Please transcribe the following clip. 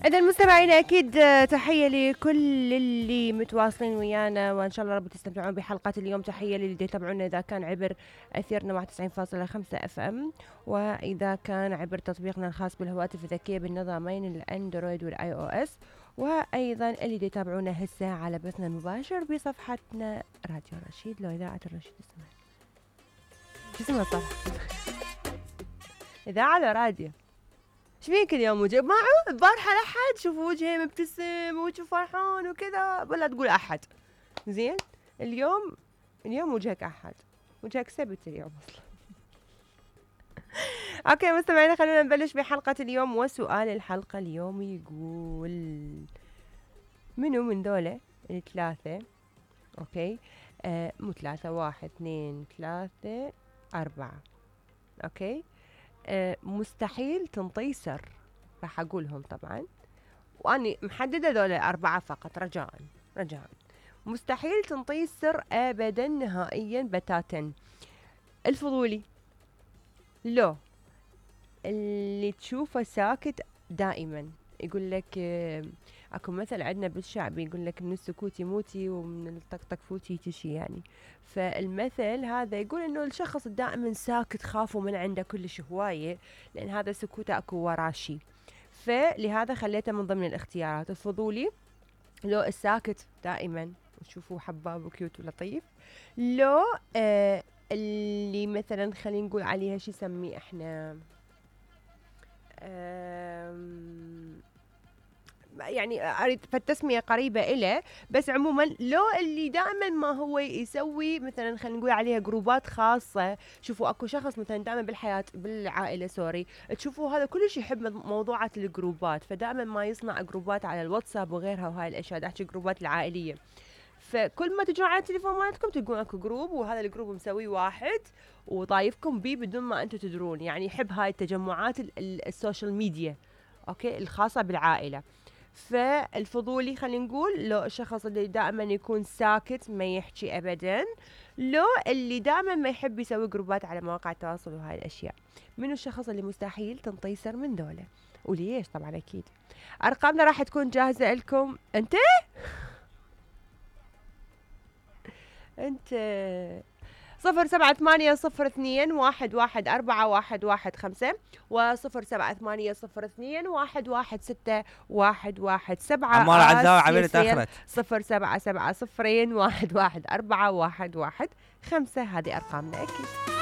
إذا المستمعين أكيد تحية لكل اللي متواصلين ويانا، وإن شاء الله رب تستمتعون بحلقة اليوم. تحية للي يتابعونا إذا كان عبر أثيرنا 91.5 FM، وإذا كان عبر تطبيقنا الخاص بالهواتف الذكية بالنظامين الأندرويد والآي أو إس، وأيضا اللي يتابعونا هسه على بثنا المباشر بصفحتنا راديو رشيد لو إذاعة الرشيد. شو اسمها صح؟ إذاعة على راديو. شفيك اليوم وجه معه البارحة لحد شوفوا وجهي مبتسم وجهه فرحان وكذا، ولا تقول أحد زين. اليوم وجهك أحد، وجهك سبت اليوم أصلا. أوكي مستمعينا، خلونا نبلش بحلقة اليوم. وسؤال الحلقة اليوم يقول: منو من دولة الثلاثة؟ أوكي مو ثلاثة، 1 2 3 4. أوكي مستحيل تنطي سر. راح أقولهم طبعا، وأني محددة ذولا 4 فقط. رجاء مستحيل تنطي السر أبدا نهائيا بتاتا. الفضولي، لو اللي تشوفه ساكت دائما. يقول لك اكو مثل عندنا بالشعب يقول لك من السكوت يموتي ومن الطقطق فوتي تشي يعني. فالمثل هذا يقول انه الشخص دائما ساكت، خافوا من عنده كلش هواية، لان هذا سكوته اكو وراه شي. فلهذا خليته من ضمن الاختيارات. الفضولي، لو الساكت دائما وتشوفوه حباب وكيوت ولطيف. لو اللي مثلا خلينا نقول عليها شي سميه احنا يعني اريد فالتسميه قريبه إله، بس عموما لو اللي دائما ما هو يسوي مثلا خلينا نقول عليها جروبات خاصه. شوفوا اكو شخص مثلا دائما بالحياه بالعائله تشوفوا هذا كلش يحب موضوعات الجروبات، فدائما ما يصنع جروبات على الواتساب وغيرها وهاي الاشياء. احكي جروبات العائليه، فكل ما تجون على التليفون مالتكم تلقون اكو جروب، وهذا الجروب مسوي واحد وطايفكم بيه بدون ما انتم تدرون. يعني يحب هاي التجمعات السوشيال ميديا اوكي الخاصه بالعائله. فالفضولي خلينا نقول لو الشخص اللي دائما يكون ساكت ما يحكي ابدا. لو اللي دائما ما يحب يسوي جروبات على مواقع التواصل وهاي الاشياء. منو الشخص اللي مستحيل تنطي سر من دولة وليش؟ طبعا اكيد ارقامنا راح تكون جاهزه لكم. انت 0780211415 و078021161117. عمار عزاوي عبير تأخرت 0770211415. هذه أرقامنا أكيد.